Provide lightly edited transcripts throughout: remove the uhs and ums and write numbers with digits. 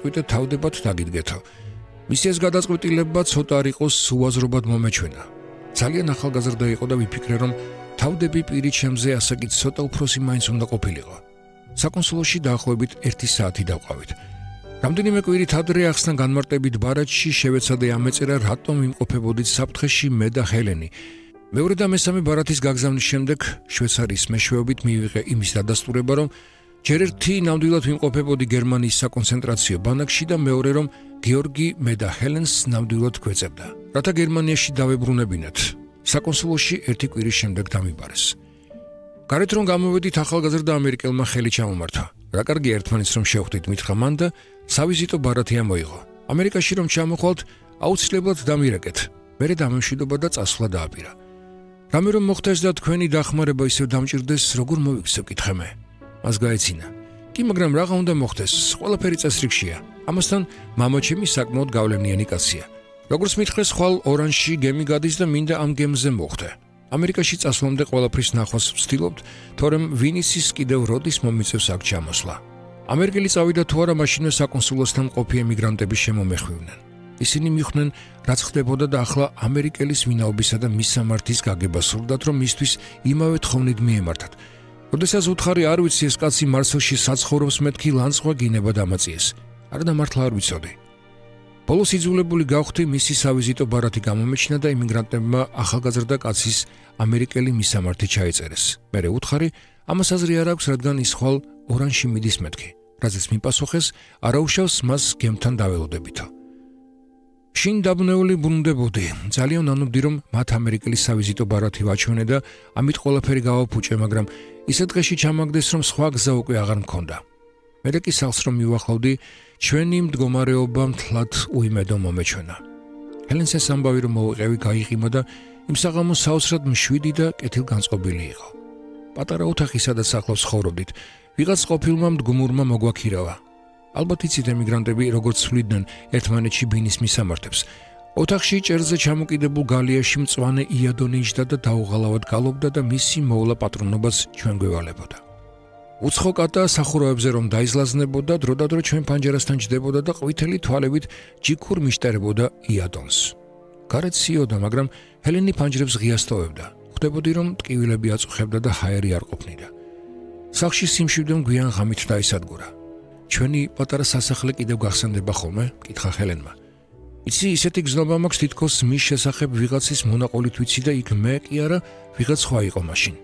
ყვითე თავდებად დაგიდგეთო. მისი ეს გადაწყვეტილება ცოტა არ იყოს უაზრობად მომეჩვენა. ძალიან ახალგაზრდა იყო და ვიფიქრე, რომ თავდები პირი ჩემზე ასე კი ცოტა უფროსი მაინც უნდა ყოფილიყო. საკონსულოში დაახლოებით 1 საათი დავყავით. რამდენიმე კვირით ადრე ახსნა განმარტებით ბარათში შევეცადე ამეწერა, რატომ ვიმყოფებოდით საფრთხეში მე და ჰელენი. მეორე და მესამე ბარათის გაგზავნის შემდეგ შვეიცარიის მეშვეობით მივიღე იმის დადასტურება, რომ ჯერ ერთი ნამდვილად ვიმყოფებოდი გერმანიის საკონცენტრაციო ბანაკში და მეორე რომ გეორგი მე და ჰელენს ნამდვილად გვეწებდა. რათა გერმანიაში დავებრუნებინათ. საკონსულოში 1 კვირის შემდეგ დამიბარეს. გარეთ რომ გამოვედით, ახალგაზრდა ამერიკელმა ხელი ჩამომართა. რა კარგი ერთმანეთს რომ შევხვდით, მითხრა მან და სავიზიტო ბარათი ამოიღო. ამერიკაში რომ ჩამოხვალთ, აუცილებლად დამირეკეთ. მერე დამემშვიდობა და წასვლა დააპირა. რამე რომ მოხდეს და თქვენი დახმარება ისევ დამჭირდეს, როგორ მოვიქცევ, კითხე მე. მას გაეცინა. კი, მაგრამ რაღა უნდა მოხდეს, ყველაფერი წესრიგშია. ამასთან მამაჩემი საკმაოდ გავლენიანი კაცია. როგორც მითხრეს, ხვალ ორანჟში გემი გადის და მინდა ამ გემზე მოხვდე. ამერიკაში წასვლამდე ყველაფრის ნახვას ვცდილობთ, თორემ ვინ იცის კიდევ როდის მომიწევს აქ ჩამოსვლა. ამერიკელი წავიდა თუ არა, მაშინვე საკონსულოსთან მყოფი ემიგრანტები შემომეხვივნენ. ისინი მიხვდნენ, რაც ხდებოდა და ახლა ამერიკელის ვინაობისა და მისამართის გაგება სურდათ, რომ მისთვის იმავე თხოვნით მიემართათ. როდესაც უთხარი არ ვიცი ეს კაცი მარსელში საცხოვრობს, მეთქი ლანცღვა გინება დამაწიეს. არადა მართლა არ ვიცოდი. ბოლოს იძულებული გავხდი, მისი სავიზიტო ბარათი გამომეჩინა და იმიგრანტებმა ახალგაზრდა კაცის ამერიკელი მისამართი ჩაიწერეს. მერე უთხარი, ამას აზრი არ აქვს, რადგან ის ხვალ ორანჟში მიდის მეთქი. რაზეც მიპასუხეს, არაუშავს მას გემთან დაველოდებითო. შინ დაბნეული ბრუნდებოდი. ძალიან ანობდი, რომ მათ ამერიკელი სავიზიტო ბარათი ვაჩვენე და ამით ყველაფერი გავაფუჭე, მაგრამ ისეთ დღეში ჩამაგდეს, რომ სხვა გზა უკვე აღარ მქონდა. მერე კი სახლს რომ მივახლავდი, ჩვენი მდგომარეობა მთლად უიმედო მომეჩვენა. ჰელენს ეს ამბავი რომ მოვიყევი გაიღიმა და იმ საღამოს საოცრად მშვიდი და კეთილგანწყობილი იყო. პატარა ოთახი, სადაც ახლავს ცხოვრობდით, ვიღაც ყოფილმა მდგომურმა მოგვაქირავა. ალბათ იცით ემიგრანტები როგორც ცვლიდნენ ერთმანეთში ბინის მისამართებს. ოთახში ჭერზე ჩამოკიდებულ გალიაში მწვანე იადონი იჯდა და დაუღალავად გალობდა და მისი მოვლა პატრონობას ჩვენ გვევალებოდა. უცხო კატა სახურავებზე რომ დაიზლაზნებოდა, დროდადრო ჩვენ პანჯერასთან ჯდებოდა და ყვითელი თვალებით ჯიქურ მიშტერებოდა იადონს. გარეთ სიოდა, მაგრამ ჰელენი პანჯრებს ღიას ტოვებდა. ხვდებოდი რომ ტკივილები აწუხებდა და ჰაერი არ ყოფნიდა. სახლში სიმშვიდემ გვიან ღამით დაისადგურა. ჩვენი პატარა სასახლე კიდევ გახსენდება ხოლმე? კითხა ჰელენმა. იცი, ისეთი გზნობა მაქვს, თითქოს მის შესახებ ვიღაცის მონაყოლით ვიცი და იქ მე კი არა, ვიღაც სხვა იყო მაშინ.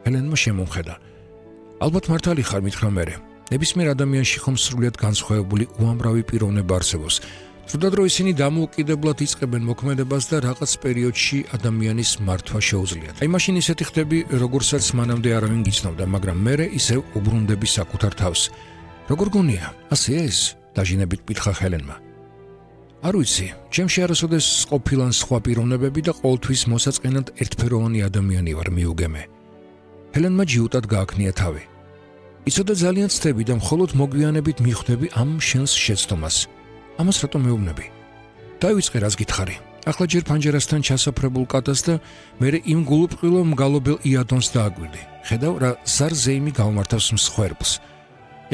ჰელენმა შემომხედა. ალბათ მართალი ხარ, მითხრა მერე. ნებისმიერ ადამიანში ხომ სრულიად განსხვავებული უამრავი პიროვნება არსებობს. დროდადრო ისინი დამოუკიდებლად იწყებენ მოქმედებას და რაღაც პერიოდში ადამიანის მართვა შეუძლიათ. აი მაშინ ისეთი ხდები, როგორცაც მანამდე არავინ გიცნობდა, მაგრამ მერე ისევ უბრუნდები საკუთარ თავს. როგორ გონია? ასე ეს? დაჟინებით კითხა ჰელენმა. არ ვიცი, ჩემში არასოდეს ყოფილან სხვა პიროვნებები და ყოველთვის მოსაწყენად ერთფეროვანი ადამიანი ვარ, მიუგემე. ჰელენმა ჯიუტად გააქნია თავი. იცოდა ძალიან ცდები და მხოლოდ მოგვიანებით მიხვდები ამ შენს შეცდომას. ამას რატომ მეუბნები? დაივიწყე, რას გითხარი. ახლა ჯერ პანჯერასთან ჩასაფრებულ კატას და მერე იმ გულუბრყვილო მგალობელ იადონს დააგვირდი. ხედავ, რა ზარზეიმი გავმართავს მსხვერპლს.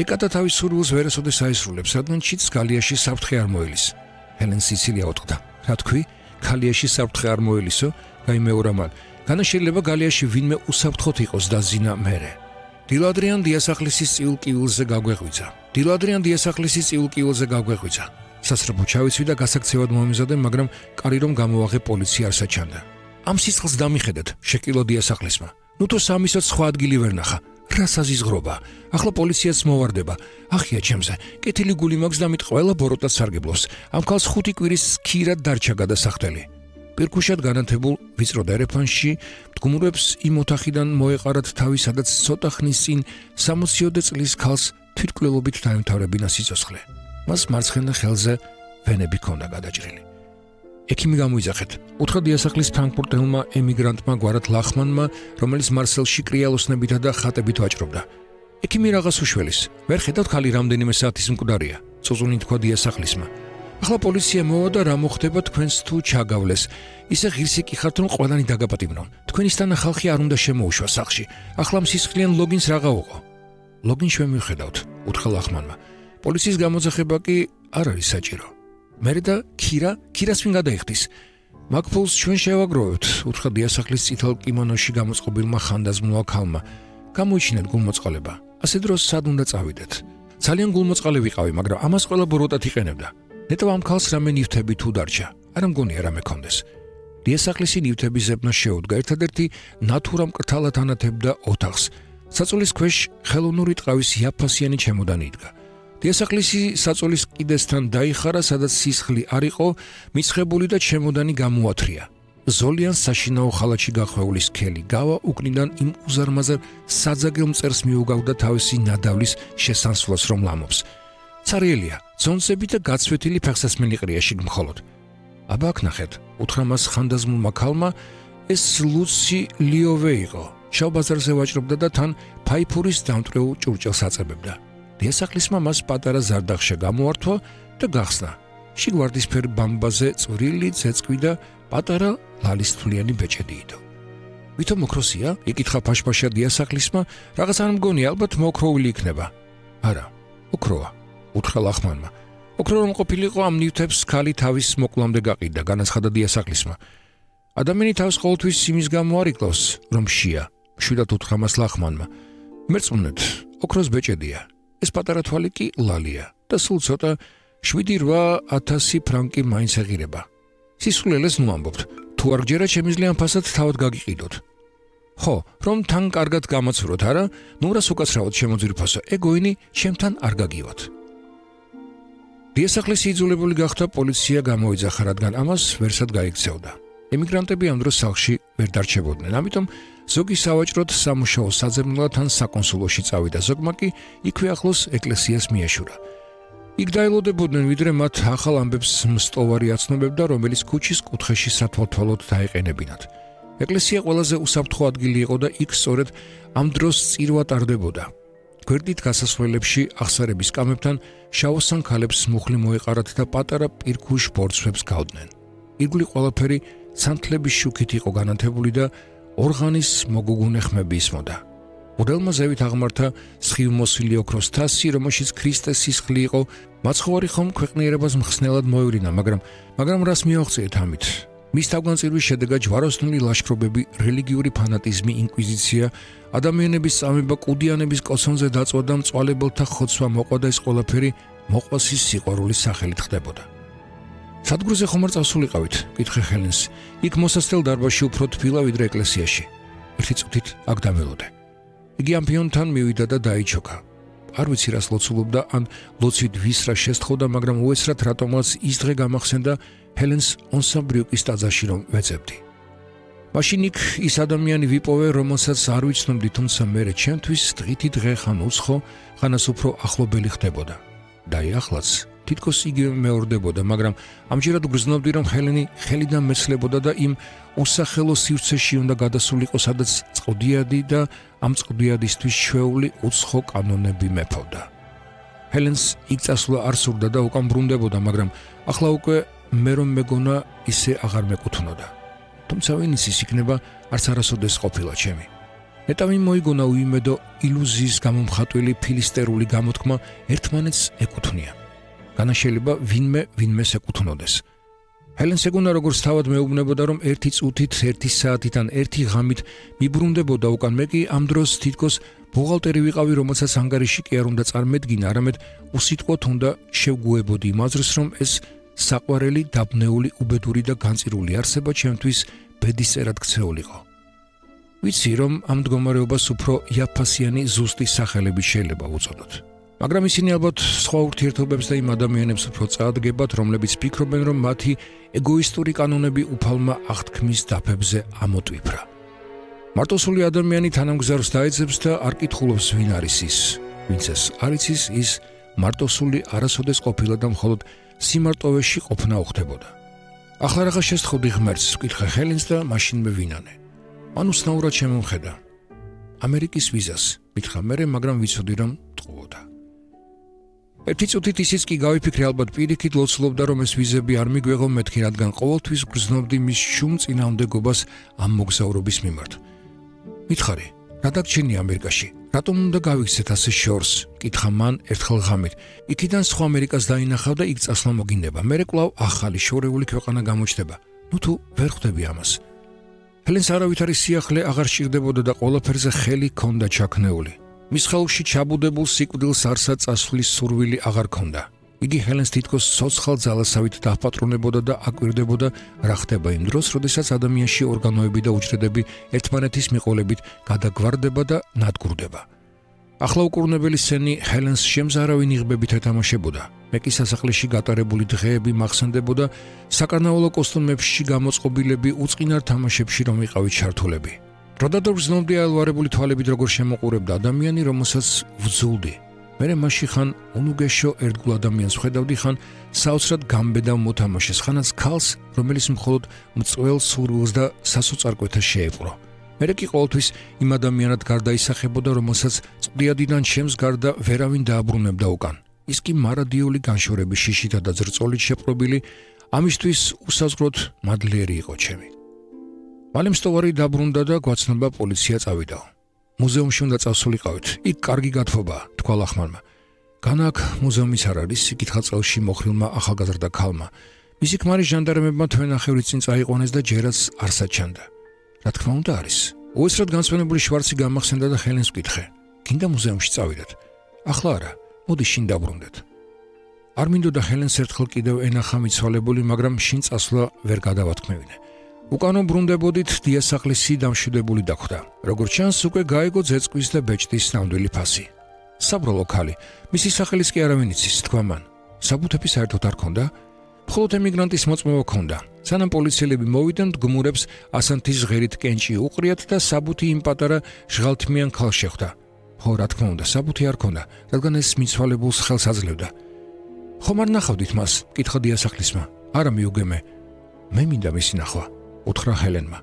ეკატა თავის სურვილს ვერასოდეს აისრულებს, რადგან ჩიტს გალიაში საფრთხე არ მოელის. ჰელენ სიცილია უთხრდა. რა თქვი? გალიაში საფრთხე არ მოელისო? გაიმეორა მან. განა შეიძლება გალიაში ვინმე უსაფრთხოდ იყოს და ზინა მერე. დილადრიან დიასახლისის წიულ კივილზე გაგვეღვიძა. სასრაფო ჩავიცვი და გასაქცევად მომიზადე, მაგრამ კარი რომ გამოვაღე პოლიცია არ საჩანდა. ამ სიცხლს დამიხედეთ, შეკილო დიასახლისმა. ნუ თუ სამისოთ სხვა ადგილი ვერ ნახა. რა საზიზღრობა? ახლა პოლიციაც მოვარდება. ახია ჩემზე. კეთილი გული მაქვს და მით ყველა ბოროტად სარგებლობს. ამ ქალს 5 კვირის ქირად დარჩა გადასახდელი. პირქუშად განათებულ ვიწრო დერეფანში მდგომრებს იმ ოთახიდან მოეყარათ თავი, სადაც ცოტა ხნის წინ 60-ოდე წლის ქალს თვითმკვლელობით დაემთავრებინა სიცოცხლე. მას მარცხენა ხელზე ვენები ჰქონდა გადაჭრილი. ექიმი გამოიძახეთ. უთხრა დიასახლის ფრანკფურტელმა ემიგრანტმა გვარად ლახმანმა, რომელიც მარსელში კრიალოსნებითა და ხატებით ვაჭრობდა. ექიმი რაღაც უშველის. ვერ ხედავთ ხალი რამდენიმე საათის მკვდარია. წუწუნი თქვა დიასახლისმა. ახლა პოლიცია მოვა და რა მოხდება თქვენს თუ ჩაგავლეს. ისე ღირსი კი ხართ, რომ ყველანი დაგაპატიმრონ. თქვენისთანა ხალხი არ უნდა შემოუშვა სახლში. ახლა მსისხლიან ლოგინს რაღა უყო. ლოგინს შევმივხედავთ, უთხრა ლახმანმა. პოლიციის გამოძახება კი არ არის საჭირო. მერე და ქირას ვინ გადაიხდის? მაგფულს ჩვენ შევაგროვებთ, უთხრა დიასახლის წითელ კიმონოში გამოწყობილმა ხანდაზმულმა ქალმა. გამოიჩინეთ გულმოწყალება. ასე დროს სად უნდა წავიდეთ? ძალიან გულმოწყალე ვიყავი, მაგრამ ამას ყველა ბოროტად იყენებდა. ნეტო ამ ქალს რამე ნივთები თუ დარჩა, არ მგონია რამე კონდეს. დიასახლისი ნივთების ზებნა შეუდგა, ერთადერთი ნათურა მკრთალად ანათებდა ოთახს. საწოლის ქვეშ ხელოვნური ტყავის იაფასიანი ჩემოდანი იდგა. დიასახლისი საწოლის კიდესთან დაიხარა, სადაც სისხლი არ იყო, მიცხებული და ჩემოდანი გამოათრია. ზოლიან საშინაო ხალათში გახვეული სქელი გავა უკნიდან იმ უზარმაზარ საძაგელ მწერს მიუგავდა თავისი ნადავლის შესანსვლას, რომ ლამობს. ცარიელია, ძონსები და გაცვეთილი ფეხსასმელი ყრია შიგ მხოლოდ. აბა აქ ნახეთ, უთხრა მას ხანდაზმულმა ქალმა, ეს ლუცი ლიოვე იყო. შავ ბაზარზე ვაჭრობდა და თან ფაიფურის დამტვრეულ ჭურჭელს აწებებდა. დიასახლისმა მას პატარა ზარდახშა გამოართვა და გახსნა. შიგ ვარდისფერ ბამბაზე წვრილი ძეწყვი და პატარა ლალისთვლიანი ბეჭედი იდო. ვითომ ოქროსია? იკითხა ფაშფაშა დიასახლისმა, რაღაც არ მგონი, ალბათ მოოქროვილი იქნება. არა, ოქროა, უთხრა ლახმანმა. ოქრო რომ ყოფილიყო, ამ ნივთებს ქალი თავის მოკლამდე გაყიდა, განაცხადა დიასახლისმა. ადამიანი თავს ყოველთვის იმის გამო არ იკლავს, რომ შია, მშვიდად უთხრა მას ლახმანმა. მერწმუნეთ, ოქროს ბეჭედია. ეს პატარა თვალი კი ლალია და სულ ცოტა 7-8,000 ფრანკი მაინც ეღირება. სისულელეს ნუ ამბობთ, თუ არ გჯერა შემიძლია ამ ფასად თავად გაგიყიდოთ. ხო, რომ თან კარგად გამაცუროთ, არა? ნურას უკაცრავად შემოძვირფასო, ეგოინი ჩემთან არ გაგივათ. დიასახლისი იძულებული გახდა პოლიცია გამოიძახა, რადგან ამას ვერსად გაიქცეოდა. ემიგრანტები ამ დროს სახლში ვერ დარჩებოდნენ, ამიტომ ზოგი სავაჭროდ სამუშაო საძებნელად ან საკონსულოში წავიდა, ზოგმა კი იქვე ახლოს ეკლესიას მიეშურა. იქ დაელოდებოდნენ, ვიდრე მათ ახალ ამბებს მსტოვარი აცნობებდა, რომელიც ქუჩის კუთხეში სათვალთვალოდ დაეყენებინათ. ეკლესია ყველაზე უსაფრთხო ადგილი იყო და იქ სწორედ ამ დროს წირვა ტარდებოდა. გვერდით გასასვლელებში აღსარების კამებთან შავოსან ქალებს მუხლი მოეყარათ და პატარა პირქუშ ბორცვებს გავდნენ. ირგვლივ ყველაფერი სანთლების შუქით იყო განათებული და ორღანის მოგუგუნე ხმები ისმოდა. ურელმა ზევით აღმართა სხივმოსილი ოქროს თასი, რომელშიც ქრისტეს სისხლი იყო. მაცხოვარი ხომ ქვეყნიერებას მხსნელად მოევლინა, მაგრამ რას მიაღწიეთ ამით? მის თავგანწირვის შედეგად ჯვაროსნული ლაშქრობები, რელიგიური ფანატიზმი, ინკვიზიცია, ადამიანების წამება კუდიანების კოცონზე დაწვა და მწვალებელთა ხოცვა მოყვა და ეს ყველაფერი მოყვასის სიყვარულის სახელით ხდებოდა. სადგურზე ხომ არ წავსულიყავით? კითხე ჰელენს. იქ მოსასწრელ დარბაზში უფრო თბილა ვიდრე ეკლესიაში. ერთი წუთით აქ დამელოდე. იგი ამბიონთან მივიდა და დაიჩოქა. არ ვიცი რას ლოცულობდა, ან ლოცვით ვის რა შესთხოვდა, მაგრამ უეცრად რატომაც ის დღე გამახსენდა ჰელენს ონსაბრიუკის ტაძარში რომ ვეძებდი. მაშინ იქ ის ადამიანი ვიპოვე, რომელსაც არ ვიცნობდი, თუმცა მერე ჩემთვის დღითი დღე ხან უცხო, ხანას უფრო ახლობელი ხდებოდა. და ახლაც თითქოს იგივე მეორდებოდა, მაგრამ ამჯერად გრძნობდი, რომ ჰელენი ხელიდან მეცლებოდა და იმ უსახელო სივრცეში უნდა გადასულიყო, სადაც წყდიადი და ამ წყდიადისთვის ჩვეული უცხო კანონები მეფობდა. ჰელენს იქ წასვლა არ სურდა და უკან ბრუნდებოდა, მაგრამ ახლა უკვე მე რომ მეგონა ისე აღარ მეკუთვნოდა. თუმცა ვინ იცის, იქნება არც არასოდეს ყოფილა ჩემი. ნეტავი მოიგონა უიმედო ილუზიის გამომხატველი ფილისტერული გამოთქმა ერთმანეთს ეკუთვნიან. განაშელება ვინმეს ეკუთვნოდეს. ჰელენს ეგონა როგორც თავად მეუბნებოდა, რომ ერთი წუთით, ერთი საათით ან ერთი ღამით მიბრუნდებოდა უკან, მე კი ამ დროს თითქოს ბუღალტერი ვიყავი, რომელსაც ანგარიში კი არ უნდა წარმედგინა, არამედ უსიტყვოდ უნდა შევგუებოდი იმ აზრს, რომ ეს საყვარელი, დაბნეული, უბედური და განწირული არსება ჩემთვის ბედისწერად ქცეულიყო. ვიცი, რომ ამ მდგომარეობას უფრო იაფასიანი ზუსტი სახელები შეიძლება უწოდოთ. მაგრამ ისინი ალბათ სხვა ურთიერთობებს და იმ ადამიანებს უფრო წაადგებათ, რომლებიც ფიქრობენ, რომ მათი ეგოისტური კანონები უფალმა აღთქმის დაფებზე ამოტვიფრა. მარტოსული ადამიანი თანამგზავრს დაეძებს და არ კითხულობს, ვინ არის ის. ვინც ეს არ იცის, ის მარტოსული არასოდეს ყოფილა და მხოლოდ სიმარტოვეში ყოფნა უხდებოდა. ახლა რაღაც შესთხოვდი ღმერთს, ვკითხე ჰელენს და მაშინმე ვინანე. მან უცნაურად შემომხედა. ამერიკის ვიზას, მითხრა მერე, მაგრამ ვიცოდი, რომ ტყუოდა. ერთი წუთით ისიც კი გავიფიქრე, ალბათ პირიქით ლოცულობდა, რომ ეს ვიზები არ მიგვეღო მეთქი, რადგან ყოველთვის გრძნობდი მის შუმ წინააღმდეგობას ამ მოგზაურობის მიმართ. მითხარი, რა დაგჩენია ამერიკაში? რატომ უნდა გავიქცეთ ასე შორს? კითხა მან ერთხელ ღამით. იქიდან სხვა ამერიკას დაინახავ და იქ წასვლა მოგინდება. მერე კვლავ ახალი შორეული ქვეყანა გამოჩნდება. ნუ თუ ვერ ხვდები ამას. ჰელენს არავითარი სიახლე აღარ სჭირდებოდა და ყველაფერზე ხელი ჰქონდა ჩაქნეული. მის ხელში ჩაბუდებულ სიკვდილს არსად წასვლის სურვილი აღარ ჰქონდა. იგი ჰელენს თითქოს ცოცხალ ძალასავით დააპატრონებოდა და აკვირდებოდა რა ხდება იმ დროს, როდესაც ადამიანში ორგანოები და უჯრედები ერთმანეთის მიყოლებით გადაგვარდება და ნადგურდება. ახლა უკურნებელი სცენი ჰელენს შემზარავი ნიღბებით ეთამაშებოდა. მე კი სასახლეში გატარებული დღეები მახსენდებოდა საკარნავალო კოსტუმებში გამოწყობილები უწყინარ თამაშებში რომ იყავით ჩართულები. როდადო გრძნობდი აელვარებული თვალებით როგორ შემოყურებდა ადამიანი, რომელსაც ვძულდი. მერე მასში ხან უნუგეშო ერთგულ ადამიანს ვხედავდი, ხან საოცრად გამბედავ მოთამაშეს, ხანაც ქალს, რომელიც მხოლოდ მწველ სურვილს და სასოწარკვეთას შეეპყრო. მერე კი ყოველთვის იმ ადამიანად გარდაისახებოდა, რომელსაც წვდიადიდან ჩემს გარდა ვერავინ დააბრუნებდა უკან. ის კი მარადიული განშორების შიშითა და ძრწოლით შეპყრობილი, ამისთვის უსაზღვროდ მადლიერი იყო ჩემი. მალე მსტოვარი დაბრუნდა და გვაცნობა პოლიცია წავიდაო. მუზეუმში უნდა წავსულიყავით. იქ კარგი გათხოვაა, თქვა ლახმანმა. განა აქ მუზეუმის არ არის, იკითხა წელში მოხრილმა ახალგაზრდა ქალმა. მისი ქმარი ჟანდარმებმა თვენახევრის წინ წაიყვანეს და ჯერაც არ საჩანდა. რა თქმა უნდა არის. უესრად განსვენებული შვარცი გამახსენდა და ჰელენს ვკითხე. გინდა მუზეუმში წავიდეთ? ახლა არა, მოდი შინ დაბრუნდეთ. არ მინდოდა ჰელენს ერთხელ კიდევ ენახა მიცვალებული, მაგრამ შინ წასვლა ვერ გადავათქმევინე. უკანო ბრუნდებოდით დიასახლისი დამშვიდებული დახვდა. როგორც ჩანს, უკვე გაიგო ძეწკვის და ბეჭდის ნამდვილი ფასი. საბრალო ქალი, მისი სახელის კი არავინ იცის, თქვა მან. საბუთები საერთოდ არ ქონდა? მხოლოდ ემიგრანტის მოწმობა ქონდა. სანამ პოლიციელები მოვიდნენ, გმურებს ასანთის ჟღერით კენჭი უყრიათ და საბუთი იმ პატარა ჟღალთმიან ქალს შეხვდა. ხო, რა თქმა უნდა, საბუთი არ ქონდა, რადგან ეს მიცვალებულს ხელს აძლევდა. ხომ არ ნახავდით მას? კითხა დიასახლისმა. არა მიუგემე. მე მინდა მისი ნახვა. უთხრა ჰელენმა.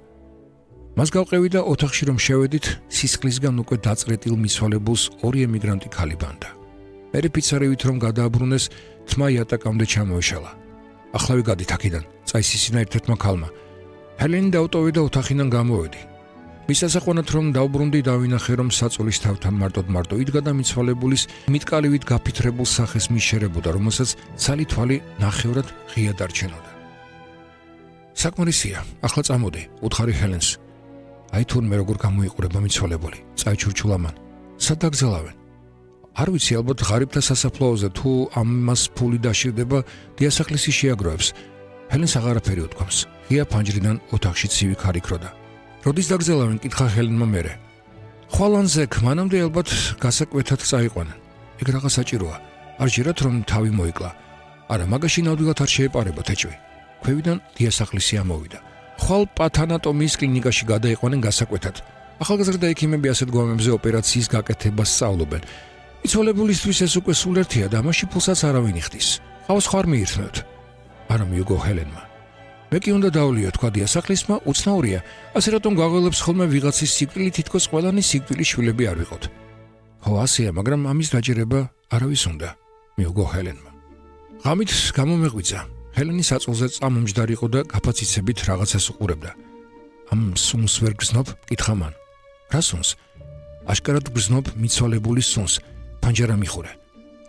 მას გავყევი და ოთახში რომ შევედით, სისხლისგან უკვე დაწრეტილ მიცვალებულს ორი ემიგრანტი ქალი ბანდა. მერე ფიცარივით რომ გადააბრუნეს, თმა იატაკამდე ჩამოეშალა. ახლა ვიგადით აქედან, წაისისინა ერთ-ერთმა ქალმა. ჰელენი დაუტოვე და ოთახიდან გამოვედი. მის ასაყვანად რომ დავბრუნდი, დავინახე რომ საწოლის თავთან მარტოდ იდგა და მიცვალებულის მიტკალივით გაფითრებულ სახეს მიშერებოდა, რომელსაც ცალი თვალი ნახევრად ღია დარჩენოდა. საკმარისია, ახლა წამოდი, უთხარი ჰელენს. აი თურმე როგორ გამოიყურება მიცვალებული, წაიჩურჩულა მან. სად დაგზელავენ? არ ვიცი, ალბათ ღარიბთა სასაფლაოზე, თუ ამას ფული დაშირდება, დიასახლისი შეაგროვებს. ჰელენს აღარაფერი უთქვამს. ღია ფანჯრიდან ოთახში ცივი ქარი ქროდა. როდის დაგზელავენ? კითხა ჰელენმა მერე. ხვალანზე მანამდე ალბათ გასაკვეთად წაიყვანენ. ეგ რაღაც საჭიროა. არ ჯერათ რომ თავი მოიკლა. არა, მაგაში ნამდვილად არ შეეპარებათ ეჭვი. ქვევიდან დიასახლისი ამოვიდა. ხვალ პათანატომიის კლინიკაში გადაიყვანენ გასაკვეთად. ახალგაზრდა ექიმები ასეთ გვამებზე ოპერაციის გაკეთებას სწავლობენ. მიცვალებულისთვის ეს უკვე სულ ერთია და ამაში ფულსაც არავინ იხდის. ყავს ხარ მიირთმევთ. არა მიუგო ჰელენმა. მე კი უნდა დავლიო, თქვა დიასახლისმა, უცნაურია. ასე რატომ გაღველებს ხოლმე ვიღაცის სიკვდილი, თითქოს ყველანი სიკვდილის შვილები არ ვიყოთ. ხო, ასეა, მაგრამ ამის დაჯერება არავის უნდა, მიუგო ჰელენმა. ღამით გამომეღვიძა. ჰელენი საწოლზე წამომჯდარი იყო და გაფაციცებით რაღაცას უყურებდა. ამ სუნს ვერ გრძნობ? კითხა მან. რა სუნს? აშკარად გრძნობ მიცვალებულის სუნს. ფანჯარა მიხურე.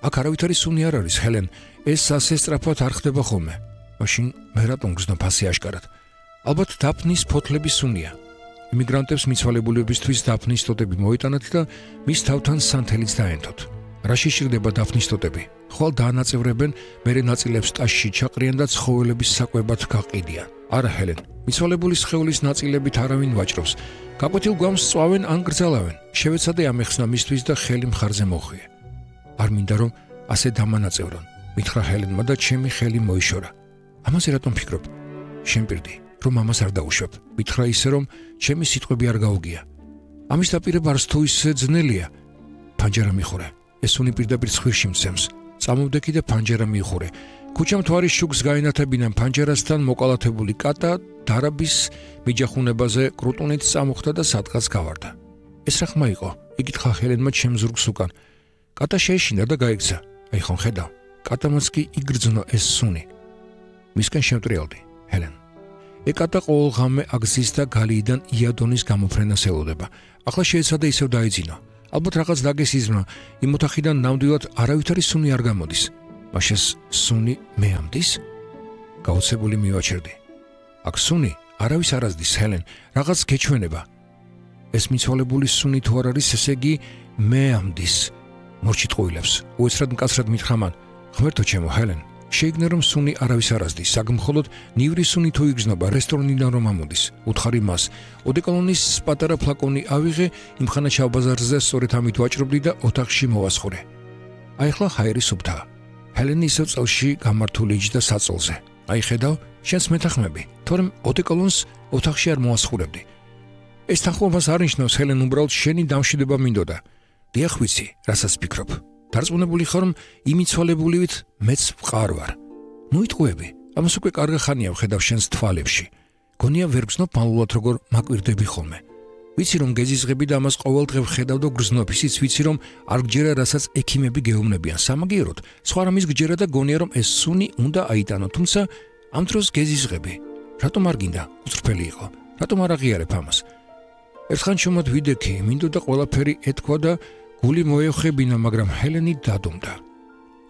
აქ არავითარი სუნი არ არის, ჰელენ. ეს ასე სწრაფად არ ხდება ხოლმე. მაშინ მე რატომ გრძნობ ასე აშკარად? ალბათ დაფნის ფოთლების სუნია. იმიგრანტებს მიცვალებულებისთვის დაფნის ტოტები მოიტანათ და მის თავთან სანთელიც დაენთოთ. რა შეშირდება დაფნის ტოტები? ხვალ დაანაწევრებენ, მერე ნაწილებს ტაშში ჩაყრიან და ცხოველების საკვებად გაყიდიან. არა, ჰელენ, მიცვალებულის სხეულის ნაწილებით არავინ ვაჭრობს. გაკვეთილ გვამს სწვავენ ან გრძალავენ. შევეცადე ამეხსნა მისთვის და ხელი მხარზე მოხვიე. არ მინდა რომ ასე დამანაწევრონ, მითხრა ჰელენმა და ჩემი ხელი მოიშორა. ამაზე რატომ ფიქრობ? შემპირდი, რომ ამას არ დაუშვებ. მითხრა ისე, რომ ჩემი სიტყვები არ გაუგია. ამის დაპირება არც თუ ისე ძნელია. ფანჯარა მიხურე. ეს სუნი პირდაპირ ცხვირში მცემს. წამოვდექი და ფანჯარა მიიხურე. ქუჩამ თვარის შუქს გაინათებინან ფანჯარასთან მოკალათებული კატა დარაბის მიჯახუნებაზე კრუტუნით წამოხდა და სადღაც გავარდა. ეს რა ხმა იყო? იკითხა ჰელენმა ჩემს ზურგს უკან. კატა შეეშინა და გაიქცა. აი ხომ ხედავ? კატამაც კი იგრძნო ეს სუნი. მისკენ შემტრიალდი, ჰელენ. ეკატა ყოველ ღამე აგზის და გალიიდან იადონის გამოფრენას ელოდება. ახლა შეეცადა ისევ დაიძინო. ალბათ რაღაც დაგესიზმა, იმ ოთახიდან ნამდვილად არავითარი სუნი არ გამოდის. მაშინ სუნი მე ამდის? გაოცებული მივაჩერდი. აქ სუნი არავის არ ազდის, ჰელენ, რაღაც გეჩვენება. ეს მიცვალებული სუნი თუ არ არის, ესე იგი მე ამდის. მორჩით ყოილებს, უეცრად მკაცრად მითხრა მან. ღმერთო ჩემო, ჰელენ, შეიგნე რომ სუნი არავის არ ազდის, საგმხოლოდ ნივრი სუნი თუ იგრძნობა რესტორნიდან რომ ამოდის. უთხარი მას, ოდეკოლონის პატარა ფლაკონი ავიღე, იმხანა ჩავბაზარზე სწორედ ამით ვაჭრობდი და ოთახში მოვასხურე. აი ახლა ჰაერი სუფთაა. ჰელენი ისევ წელში გამართული იჯდა საწოლზე. აი ხედავ, შენს მეთანხმები, თორემ ოდეკოლონს ოთახში არ მოასხურებდი. ეს თანხმობას არ ნიშნავს, ჰელენ, უბრალოდ შენი დამშვიდება მინდოდა. დიახ ვიცი, რასაც ფიქრობ. დარწმუნებული ხარ, რომ იმიცვალებულივით მეც ვყარ ვარ. ნუ იტყუები, ამას უკვე კარგი ხანია ვხედავ შენს თვალებში. გონია ვერ გრძნობ მალულად როგორ მაკვირდები ხოლმე. ვიცი რომ გეზიზღები და ამას ყოველდღე ვხედავ და გრძნობ, ისიც ვიცი რომ არ გჯერა რასაც ექიმები გეუბნებიან. სამაგიეროდ, სხვა რამის გჯერა და გონია რომ ეს სუნი უნდა აიტანო, თუმცა ამ დროს გეზიზღები. რატომ არ გინდა უცრფელი იყო? რატომ არ აღიარებ ამას? ერთხან შომად ვიდექი, მინდოდა ყველაფერი ეთქვა და გული მოეხებინა, მაგრამ ჰელენი დადუმდა.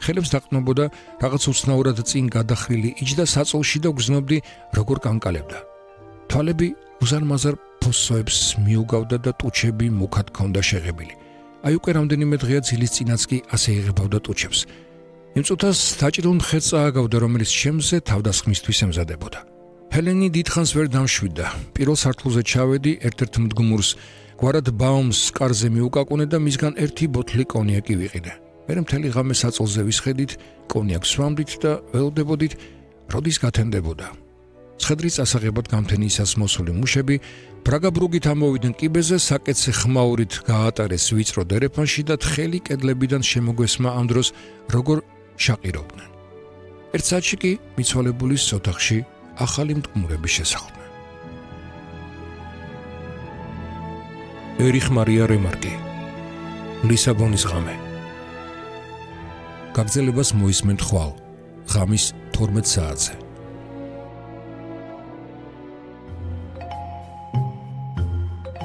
ხელებს დაყნობოდა, რაღაც უცნაურად წინ გადახრილი იჯდა საწოლში და გრძნობდი, როგორ კანკალებდა. თვალები უზარმაზარ ფოსოებს მიუგავდა და ტუჩები მუქად ჰქონდა შეღებილი. აი უკვე რამდენიმე დღეა ძილის წინაც კი ასე იღებავდა ტუჩებს. იმ წუთას დაჭრილ მხეც წააგავდა, რომელიც შემზე თავდასხმისთვის ემზადებოდა. ჰელენი დიდხანს ვერ დამშვიდა. პირველ სართულზე ჩავედი, ერთ-ერთ მდგომურს გვარად ბაუმს კარზე მიუკაკუნე და მისგან ერთი ბოთლი კონიაკი ვიყიდე. მერე მთელი ღამე საწოლზე ვისხედით, კონიაკს ვამდით და ველოდებოდით, როდის გათენდებოდა. ცხედრის წასაღებად გამთენისას მოსული მუშები ბრაგაბრუგით ამოვიდნენ კიბეზე, საკეცე ხმაურით გაატარეს ვიწრო დერეფანში და თხელი კედლებიდან შემოგვესმა ამ დროს როგორ შაყირობდნენ. ერთ საათში კი მიცვალებულის ოთახში ახალი მტკნურები შესახლდნენ. ერიხ მარია რემარკი, ლისაბონის ღამე. გაგრძელებას მოისმენთ ხვალ, ღამის 12 საათზე.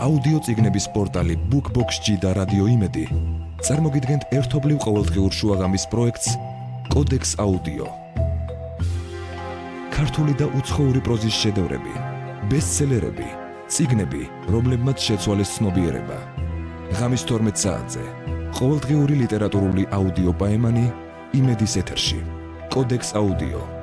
აუდიო წიგნების პორტალი BookBox-ში და რადიო იმედი წარმოგიდგენთ ერთობლივ ყოველდღიურ შუაღამის პროექტს კოდექს აუდიო. ქართული და უცხოური პროზის შედევრები, ბესტსელერები, წიგნები, რომლებმაც შეცვალეს ცნობიერება. ღამის 12 საათზე ყოველდღიური ლიტერატურული აუდიო პაემანი იმედის ეთერში. კოდექს აუდიო.